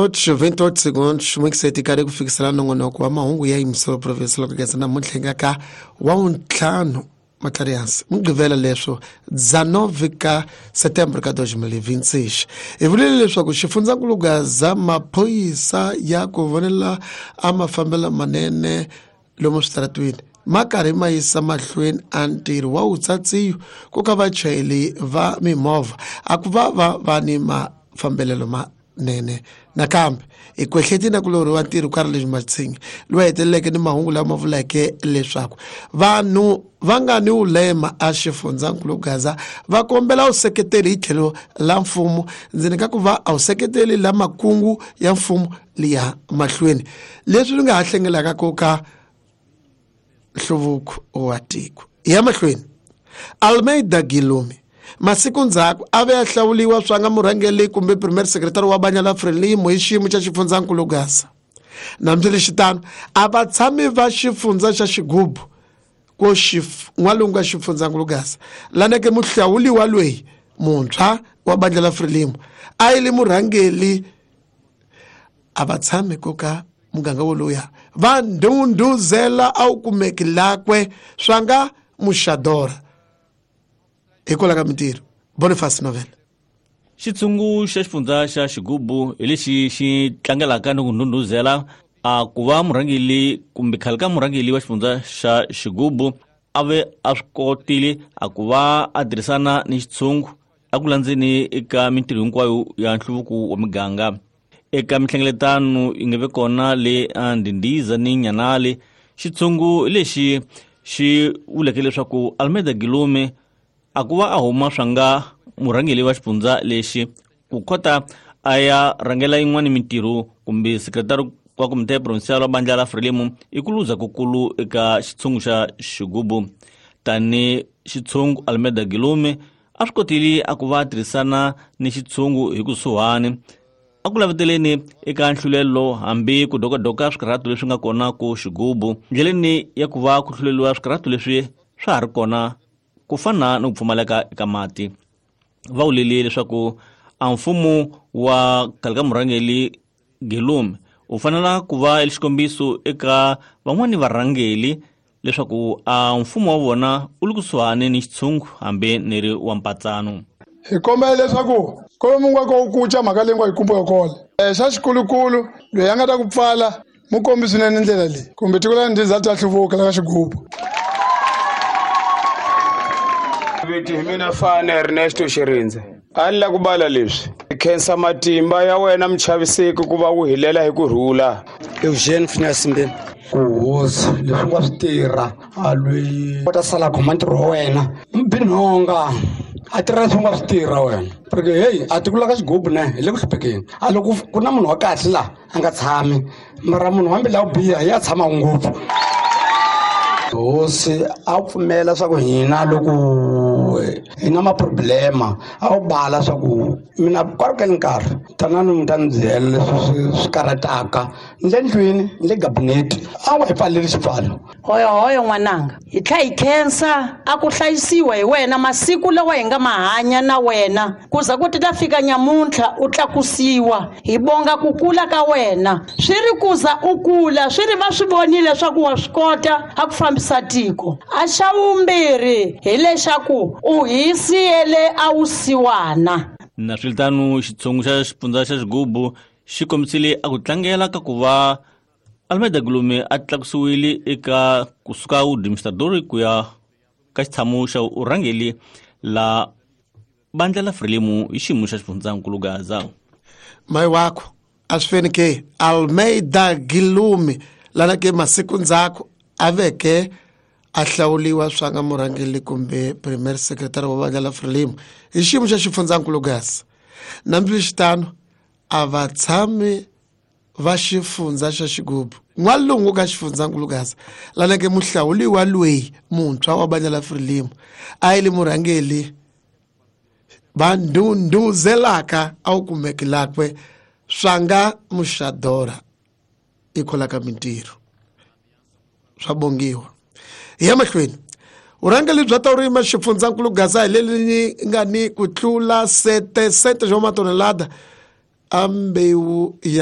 28 segundos n'wikiseti karhi ku fikisela nongonoko wa mahungu ya yimiselo province loko geza namuntlha nga ka wa wuntlhanu matlarihansi mugqivela leswo 19 ka setembro ka 2026 hi vulile leswaku xifundzankulu gaza maphorisa ya ku vonela a mafambelo manene lomu switaratwini ma karhi ma yisa mahlweni a ntirho wa wutsatsiyo ku ka vachayeri va mimovha a ku va va va ni mafambelelo manene nakambe hi kwehleti na ku lorhiwa ntirho ka ri leswi matshingi lowu heteleleke ni mahungu lama vuleke leswaku vanhu va nga ni wulema a xifundzankulu gaza va kombela vuseketeli hi tlhelo la mfumo ndzeni ka ku va a vuseketeli la makungu ya mfumo liya mahlweni leswi swi nga ha hlengelaka ku ka nhluvuko wa tiko ya mahlweni Almeida Gilumi masiku ndzhaku a ve a hlawuliwa swa nga murhangeli kumbe premier secretary wa banya la Frelimo hi xiyimo xa xifundzankulu Gaza nhambileswitano a va tshami va xifundza xa xigubu ko n'walungu ka xifundzankulu Gaza laneke muhlawuliwa loyi muntshwa wa bandla la Frelimo a yi li murhangeli a va tshami ko ka muganga woluya va ndhundhuzela a wu kumeki lakwe swa nga muxadora hikwalaho ka mintirho Boniface Novel. Xitshungu xa xifundza xa xigubu hi lexi xi tlangelaka ni ku ndhundhuzela a ku va murhangeli kumbe khale ka murhangeli wa xifundza xa xigubu a ve a swi kotile a ku va a tirhisana ni xitshungu a ku landzeni eka mintirho hinkwayo ya nhluvuko wa miganga eka mihlengeletano yi nga ve kona le Ndindiza ni Nyanale xitshungu lexi xi vuleke leswaku Almeida Gilume a ku va a huma swa nga murhangeli wa xifundza lexi ku kota a ya rhangela yin'wana mintirho kumbe sekretari wa komite provincial wa bandla la Frelimo i ku luza kukulu eka xitshungu xa xigubu tani xitshungu Almeida Gilume a swi kotile a ku va tirhisana ni xitshungu hi kusuhani a ku laveteleni eka nhlulelo hambi ku dokadoka swikarhato leswi nga kona ku xigubu ndleleni ya ku va ku hluleliwa swikarhato leswi swa ha ri kona ku fana ni ku pfumaleka eka mati va vulele leswaku a mfumo wa khale ka murhangeli Gilume u fanela ku va xikombiso eka van'wani varhangeli leswaku a mfumo wa vona u le kusuhani ni xitshungu hambi ni ri wa mpatsano. Hi kombela leswaku kwalomu nga ko kuca mhaka leyi nga yi kumbe kona xa xikulukulu loyi a nga ta ku pfala mu kombi swinene ndlela leyi kumbe tiko la Ndhiza ta hluvuka la ka xigubu. Viti hi mina Fane Ernesto Xirindze a ni la ku bala leswi khensa matimba ya wena muchaviseki ku va wu hilela hi ku rhula. Eugene Phineas Mbeni ku hosi leswi nga swi tirha a loyi u ta sala khoma ntirho wa wena mbinhonga a tirha leswi nga swi tirha wena porque heyi a tiko la ka xigubu ne hi le ku hluphekeni a loko ku na munhu wa kahle laha a nga tshami mara munhu wa mbilu ya ku biha ya tshama ngopfu. Hosi a pfumela swa ku hina loko hi na maproblema a wu bala swa ku mina kwalukeni nkarhi tanani mi ta ni byela leswi swi karhataka ni le ndlwini ni le gabinete a wu hi pfaleli xipfalo. Hoyo hoyo n'wananga hi tlha hi khensa a ku hlayisiwa hi wena masiku lawa hi nga ma hanya na wena ku za ku ti ta fika nyamuntlha u tlakusiwa hi bonga ku kula ka wena swi ri ku za u kula swi ri va swi vonile leswaku wa swi kota a ku fambisa tiko a xa vumbirhi hi lexaku u hi siyele a wu siwana. Na swiritano xitshungu xa xifundza xa xigubu xi kombisile a ku tlangela ka ku va Almeida Gulume a tlakusiwile eka kusuka administrador ku ya ka xitshamo xa urhangeli la bandla la Frelimo hi xiyimo xa xifundzankulu Gaza. Mai wakho a swi feni ke Almeida Gilumi lana ke masiku ndzhaku a veke a hlawuliwa swa nga murhangeli kumbe premier secretary wa bandla la Frelimo hi xiyimo xa xifundzankulu Gaza. Nhambileswitano a va tshami va xifundza xa xigubu n'walungu ka xifundzankulu Gaza laneke muhlawuliwa loyi muntshwa wa bandla la Frelimo a yi li murhangeli va ndhundhuzelaka a wu kumeki lakwe swa nga muxadora ikholaka mintirho swa bongiwa. Hi ya mahlweni vurhangeli bya taurima xifundzankulu Gaza hi leri nga ni ku tlula 7 swa matonelada a mbewu ya